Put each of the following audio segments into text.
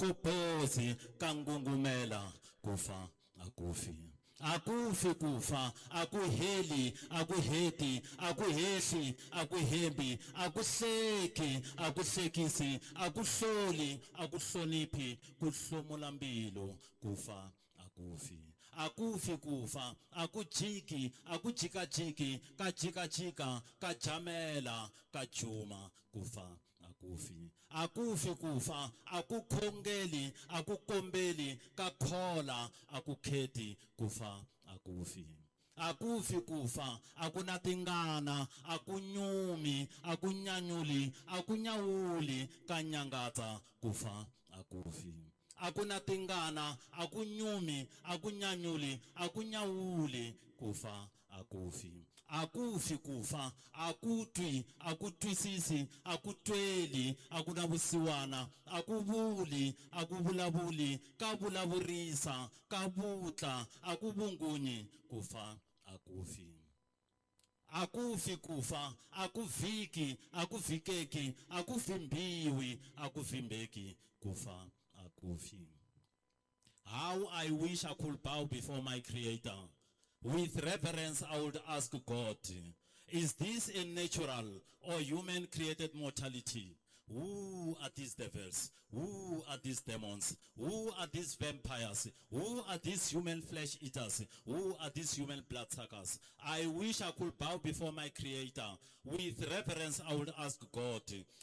Kopozi ka ngungumela ku fa a ku fi. A ku fi ku fa, a ku heli, a ku heti, a ku hehli, a ku hembi, a ku hleki, a ku hlekisi, a ku hloli, a ku hloniphi, ku hlomula mbilu, ku fa a ku fi. A ku fi ku fa, a ku jiki, a ku jikajiki, ka jikajika, ka jamela, ka juma, ku fa a ku fi. A ku fi ku fa, a ku khongeli, a ku kombeli, ka khola, a ku kheti, ku fa a ku fi. A ku fi ku fa, a ku na tingana, a ku nyumi, a ku nyanyuli, a ku nyawuli, ka nyangatsa, ku fa a ku fi. A ku na tingana, a ku nyumi, a ku nyanyuli, a ku nyawuli, ku fa a ku fi. A ku fi ku fa, a ku twi, a ku twisisi, a ku tweli, a ku na vusiwana, a ku vuli, a ku vulavuli, ka vulavurisa, ka vutla, a ku vungunyi, ku fa a ku fi. A ku fi ku fa, a ku vhiki, a ku vhikeki, a ku vhimbiwi, a ku vhimbeki, ku fa a ku fi. How I wish I could bow before my Creator. With reverence, I would ask God, is this a natural or human created mortality? Who are these devils? Who are these demons? Who are these vampires? Who are these human flesh eaters? Who are these human bloodsuckers? I wish I could bow before my Creator. With reverence, I would ask God,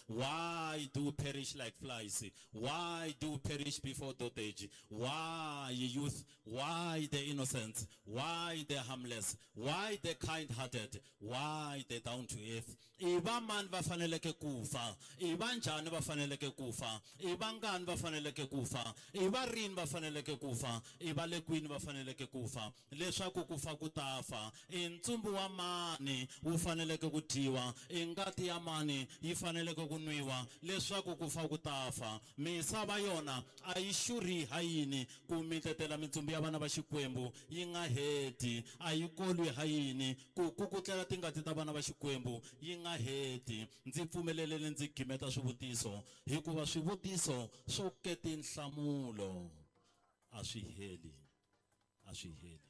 why do perish like flies? Why do perish before dotage? Why youth? Why the innocent? Why the harmless? Why the kind-hearted? Why the down to earth? I va mani va faneleke ku fa? I va njhani va faneleke ku fa? I vangani va faneleke ku fa? I va rini va faneleke ku fa? I va le kwini va faneleke ku fa? Leswaku ku fa ku ta fa. I ntsumbu wa mani wu faneleke ku dyiwa? I ngati ya mani yi faneleke ku nwiwa? Leswaku ku fa ku ta fa. Misava yona a yi xurhi ha yini ku mitetela mintsumbu ya vana va Xikwembu yi nga heti? A yi kolwi ha yini ku kukutlela tingati ta vana va Xikwembu yi nga heti? Ndzi pfumeleleni ndzi gimeta swivutiso, hikuva swivutiso swo ke tinhlamulo a swi heli, a swi heli.